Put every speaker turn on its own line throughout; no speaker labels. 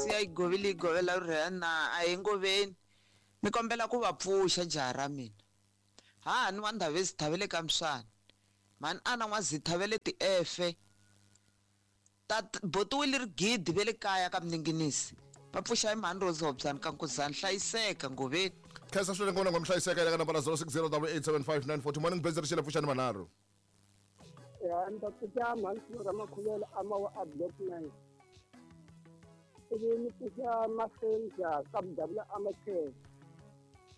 Siya yi govile yi govela rhurhela na a hi ngoveni ni kombela ku va pfuxa jaha ra mina hahani wa Ndhavezitha va le ka Mswani mhani ana N'wazitha va le Tiefe ta botiwile rigidi va le kaya ka Mninginisi va pfuxa hi mhani Rose Hobyani ka Nkuzani hlayiseka ngoveni.
Khensa swinene ngona ngomhlayiseka eka nambara 0608875940 morning base rixele pfuxani manharhu.
Ya ni ta pfuxa mhani Flora Makhuvela a mawa a block 9 ivi ni pfuxa Masenja ka Mudavula a Makhele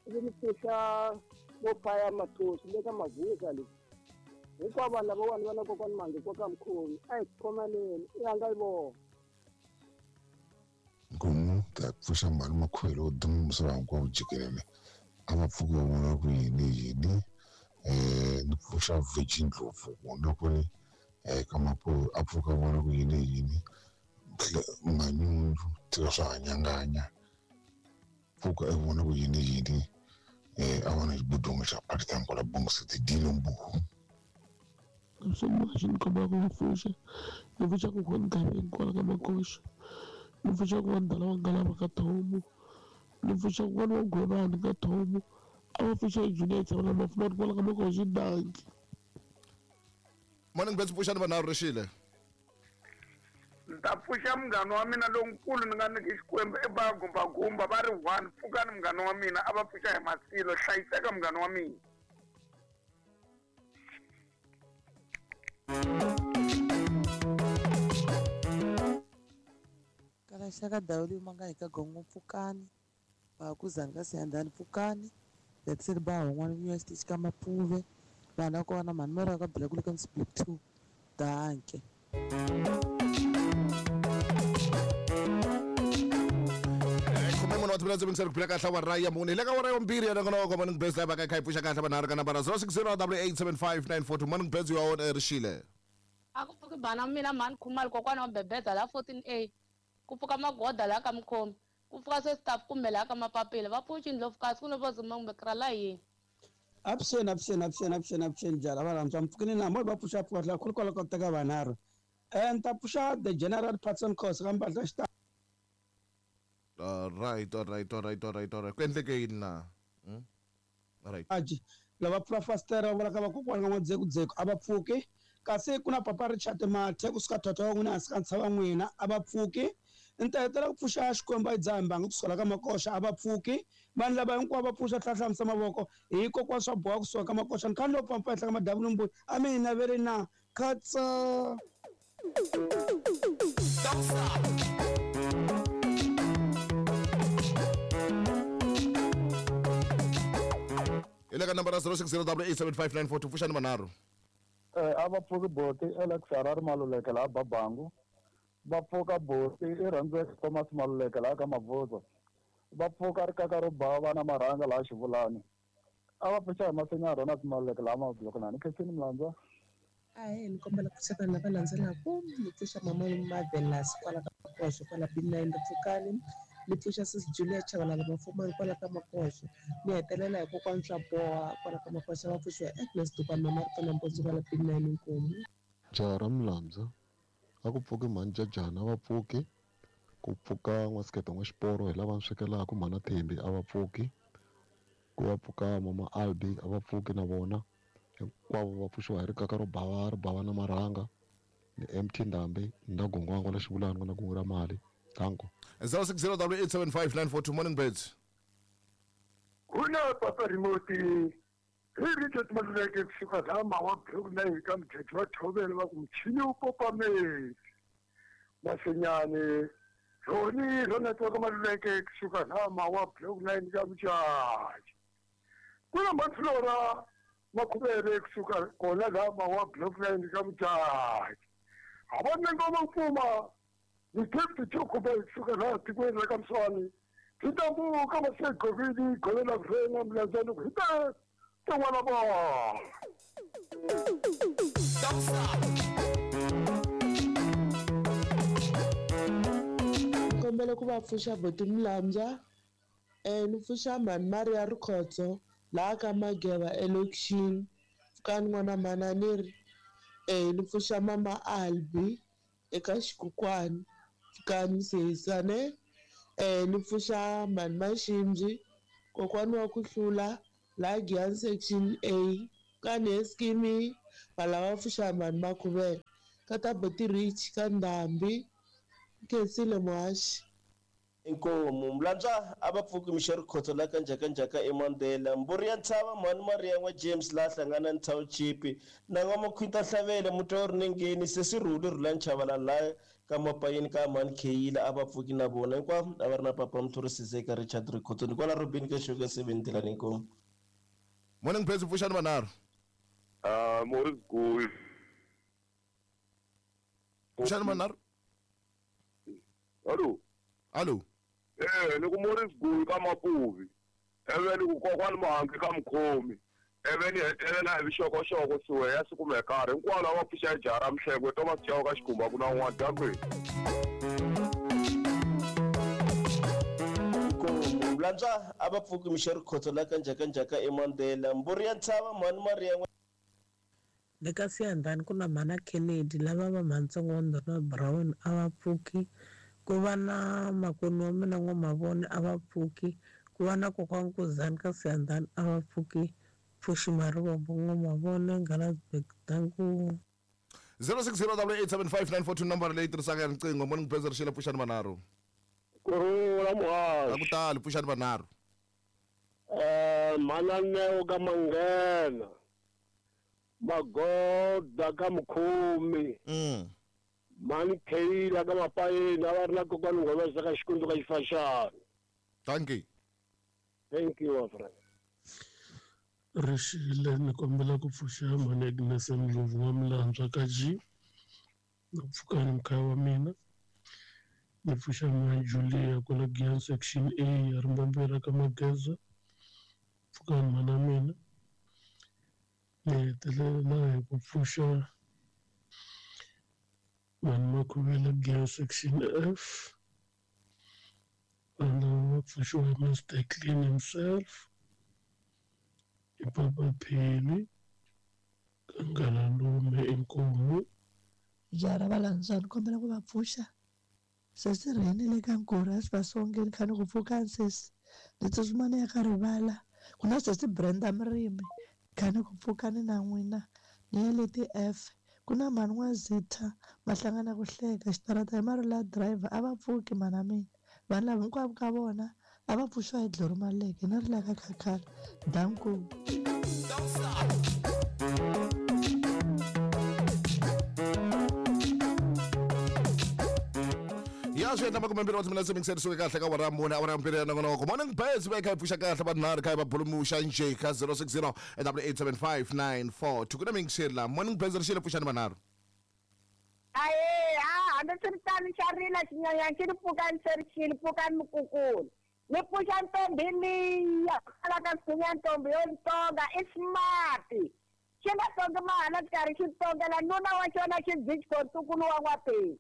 ivi ni pfuxa vo Fire Mathosi le ka Mavuza le hinkwavo vanhu lavawani va na kokwani Mangi koka mkhomi a hi khomaneni i yanga yi vona.
Nkomu ta pfuxa mhani Makhuvele wo duma misava hinkwawo jikelele a va pfuki va vona ku yini yini ni pfuxa Virgin Ndlovu vona ku ri ka Mapuve a pfuka vona ku yini yini Manyunyu tika swa hanyanganya pfuka e vona ku yini yini a vona xibudungu xa Pakistan kwala Bongo City Dino Mbuhu.
Swin'wana xi ni kombela ku va pfuxa ni pfuxa kokwani Gaveni kwala ka Makoxa ni pfuxa kokwani Dala wa Ngalava ka Thomo ni pfuxa kokwani wa Gwevani ka Thomo a va pfuxa Junior Tsavula Mafumani kwala ka Makoxa danki.
Morning base pfuxani vanharhu rixile.
Ni ta pfuxa munghana wa mina lonkulu ni nga nyiki Xikwembu i ba gumbagumba va ri one pfukani munghana wa mina a va pfuxa hi masilo hlayiseka munghana wa mina.
Kalaxaka dawu leyi ma nga hi ka gongo pfukani Bakuzani ka Siyandhani pfukani Jackson ba hon'wana vuya xitichi ka Mapuve vanhu va kona mhani Mary ka Bila kule ka Block 2 danke.
Khume mune wa timinetse mingiseri ku phila kahle awara ya mune hi le ka awara ya vumbirhi ya nongonoko morning base live ka kha yi pfuxa kahle vanharhu ka nambara 0608875942 morning base you are on air rixile.
A ku pfuki bana mina mhani Khumalo kokwana wa Bebeza la 14A ku pfuka magoda la ka Mukhomi ku pfuka se staff kumbe la ka Mapapila va pfuxi ndlopfu kasi ku no va zuma kumbe kra la yini.
Avuxeni avuxeni avuxeni avuxeni avuxeni jala va rhandza mpfukini na mo va pfuxa pfuka tlhela khulu kwala ka teka vanharhu ni ta pfuxa the general Patson Khosa ka mpahla xita.
All right, all right, all right, all right, all right. Ku endleke yini na? Hmm? All right.
Aji lava pfula fasitere va vula ka vakokwana ka n'wadzekudzeko a va pfuki kasi ku na papa Richard Mathe kusuka thotho wa n'wina hansi ka ntshava n'wina a va pfuki ni ta hetela ku pfuxa Xikwembu a yi dzaha mbangi kusuka la ka Makoxa a va pfuki vanhu lava hinkwavo va pfuxa tlhatlhamisa mavoko hi kokwana swa boha kusuka ka Makoxa ni kha ni lo pampa henhla ka madavu ni mbuya a mi hi naveli na khatsa.
Hi le ka nambara 0608875942 pfuxani manharhu.
A va pfuki boti Alex Harare Maluleke laha Babangu va pfuka boti i rhandzeka Thomas Maluleke laha ka Mabvuzo va pfuka rikaka ro bava na marhanga laha Xivulani a va pfuxa hi masinya Ronald Maluleke laha Mablokonani Khensini Mlandza.
Ahee ni kombela ku pfuxa vanhu lava landzelaka ni pfuxa mama Marvelous kwala ka Makoxo kwala B9 Pfukani ni pfuxa sis Julia Chabalala Mafumani kwala ka Makoxo ni hetelela hi kokwani swa boha kwala ka Makoxo va pfuxiwa hi Agnes Dukwana mama Rito na Mpontso kwala B9 Nkomu.
Jaha ra Mlandza a ku pfuki mhani Jajana a va pfuki ku pfuka N'wasikete N'waxiporo hi lava ni swekelaka mhana Thembi a va pfuki ku ya pfuka mama Albi a va pfuki na vona hinkwavo va pfuxiwa hi rikaka ro bava ri bava na marhanga ni MT Ndhambi na gongwango la xivulani ku na kungu ra mali danko.
0608875942 morning birds.
Kuna papa remote hi Richard Maluleke kusuka laha Mawa Block na hi ka mujheji wa Thovhele va ku muchini wu popa metsi Masenyane Roni Ronald wa ka Maluleke kusuka laha Mawa Block 9 ka Mujaji kuna Maflora Makhuvele kusuka kona laha Mawa Block 9 ka Mujaji ha va ngoma mpfuma ni gift Chukube kusuka laha tikweni ra ka Mswani Titambuka masegovini govela vrena mlandzani ku hita tin'wana vona.
Ni kombela ku va pfuxa boti Mlambya ni pfuxa mhani Maria Rikhotso laha ka Mageva elokixini pfukani n'wana mhani ni ri ni pfuxa mama Albi eka xikukwani pfukani sesi ne. Ni pfuxa mhani Maximbi, kokwani wa ku hlula laha Giyani section A ka Neskimi va lava pfuxa mhani Makhuvele ka ta Buti Rich ka Ndhambi Khensile muhaxi.
Inkomu Mlantswa a va pfuki mixo rikhotso la ka njhakanjhaka eMandela mburi ya ntshava mhani Maria n'wa James laha hlangana ni township na n'wa Makhwita Hlavele mutwa rinengeni sesi Rhuli Rhulani Chavalala laha ka Mapayeni ka mhani Kheyila a va pfuki na vona hinkwavo a va ri na papa Mthuri Sizeka Richard Rikhotso ni kwala Robin ka Sugar 7 Dilani inkomu.
Morning Blaze pfuxani vanharhu.
Morris Gul.
Pfuxani vanharhu.
Hallo.
Hallo.
Ni ku Morris Gul ka Mapuvi. Eve ni ku kokwani Mahangi ka Mkhomi. Eve ni hetelela hi vixokoxoko suwe ya siku mekari. Hinkwavo lava pfuxa jara Mhlengwe Thomas Chauke ka Xikhumba ku na un'wana dyangweni.
Inkomu Mlantswa a va pfuki mixo rikhotso la ka njhakanjhaka eMandela mburi ya ntshava mhani Maria
Le ka Siyandhani ku na mhana Kennedy lava va mhantsongo wa Ndhuna Brown a va pfuki, ku va na makwenu wa mina N'wamavone a va pfuki, ku va na kokwani Nkuzani ka Siyandhani a va pfuki, Pfuxi Marivombo N'wamavone Ngalansburg danku.
0608875942 nomboro leyi tirhisaka ya riqingho. Morning Blaze rixile pfuxani vanharhu.
Kurhula muhaxi.
A ku tali pfuxani vanharhu.
Mhana Neo ka Manghena. Magoda ka Mkhomi. Mhani Kheyila ka Mapayeni a va ri na kokwani Ngomesa ka Xikundzu ka Xifaxana.
Thank you.
Thank you, my friend.
Rixile ni kombela ku pfuxa mhani Agnes Ndlovu wa Mlantswa ka G. Na pfukani mkhaya wa mina. Ni pfuxa mhani Julia kwala Giyani section A ya Rimbombela ka Mageza. Pfukani mhana mina. Ni hetelela hi ku pfuxa mhani Makhuvele Giyani section F. Vanhu va pfuxiwa hi Mr Clean himself. Hi Papa Pheli Kangalalume inkomu.
Jara va Lantswa ni kombela ku va pfuxa sesi Rheni le ka Nkura a swi va songeni kha ni ku pfukani sesi ni tsutsuma ni ya ka rivala ku na sesi Brenda Murimi kha ni ku pfukani na n'wina ni ya le ti-F ku na mhani N'wa Zitha va hlangana ku hleka xitarata hi marula driver a va pfuki mhana mina vanhu lava hinkwavo ka vona a va pfuxiwa hi Dloro Maleke na ri la ka Khakhala danku.
Ya swi endla makumembirhi wa timinetse mingiseri suke kahle ka awara ya mune awara ya mbirhi ya nongonoko. Morning Blaze va kha yi pfuxa kahle vanharhu kha yi va bulumuxa njhe ka 060 8875942 ku na mingiseri la. Morning Blaze rixile pfuxani vanharhu.
Aye, hambi swi ri tano xa rila xinyanyana xi ri pfukani se ri xile pfukani mukukulu. Ni pfuxa ntombi liya kwala ka Sinya ntombi yo ntonga i smart. Xi nga tongi mahala xikarhi xi tongela nuna wa xona xi byichiko ntukulu wa N'wapeni.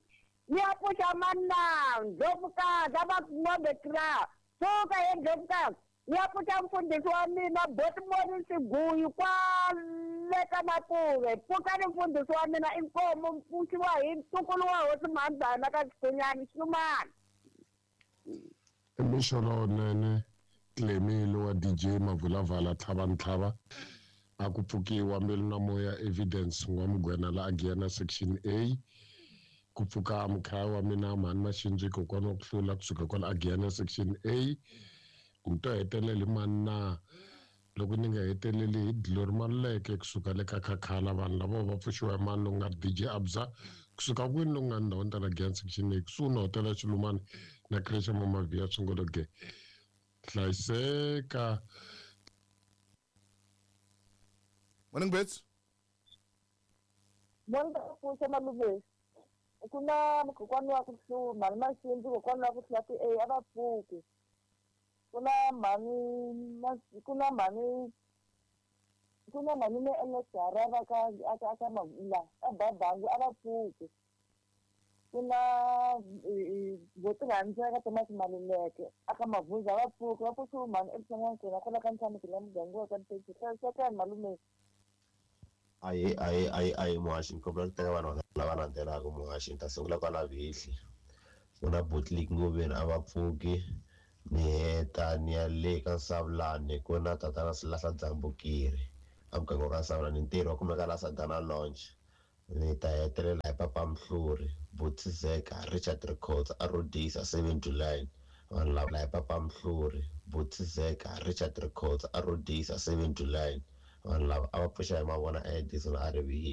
Ni ya pfuxa manana Ndlovukazi a va ngombe kra. Pfuka ye Ndlovukazi. Ni ya pfuxa mfundhisi wa mina Botmoni Siguyi kwale ka Mapuve. Pfukani mfundhisi wa mina inkomu mpfuxiwa hi ntukulu wa hosi Mhandzana ka Xikunyani Xinumani.
Mixo lowunene Clemile wa DJ Mavulavala Tlhavantlhava a ku pfukiwa mbilu na moya Evidence N'wamugwena la a Giyana section A ku pfuka mukhaya wa mina mhani Maxindzi kokwana wa ku hlula kusuka kwala a Giyana section A ni to hetelela hi mani na loko ni nga heteleli hi Glory Maluleke kusuka le ka Khakhala vanhu lava va pfuxiwa hi mani loku nga DJ Abza kusuka kwini loku nga ndhawini ta la Giyani section A kusuhi na hotela ya Xilumani na creche Mama Via Swingologe hlayiseka.
Morning Bets.
Morning pfuxa malume. Ku na kokwani wa ku hlula mhani Maxindzi kokwani wa ku hlula ti-A a va pfuki. Ku na mhani ku na mhani ku na mhani me Ernest Harava ka ka ka la ka Babangu a va pfuki. Ku na vo tirhandzeka Thomas Maluleke a ka Mavhuza a va pfuki va pfuxiwe mhani evuton'wini kwala ka Ntshameki la muganga wa ka Nteji hlayisekani malume.
Aye aye aye aye muhaxi ni kombela ku teka vanhu lava landzelaka muhaxi ni ta sungula kwala Vihli. Ku na Botlik Ngoveni a va pfuki. Ni heta ni ya le ka Nsavulani ku na tatana Silahla Dzambukiri a muganga wa ka Nsavulani ntirho wa kumeka la Sadana Lounge. Ni ta hetelela hi Papa Mhluri, Butizeka, Richard Rikhotso a Rhodisa 7 July. Vanhu lava hi Papa Mhluri, Butizeka, Richard Rikhotso a Rhodisa 7 July. Vanhu lava a va pfuxa hi mavona Edison a ri vile.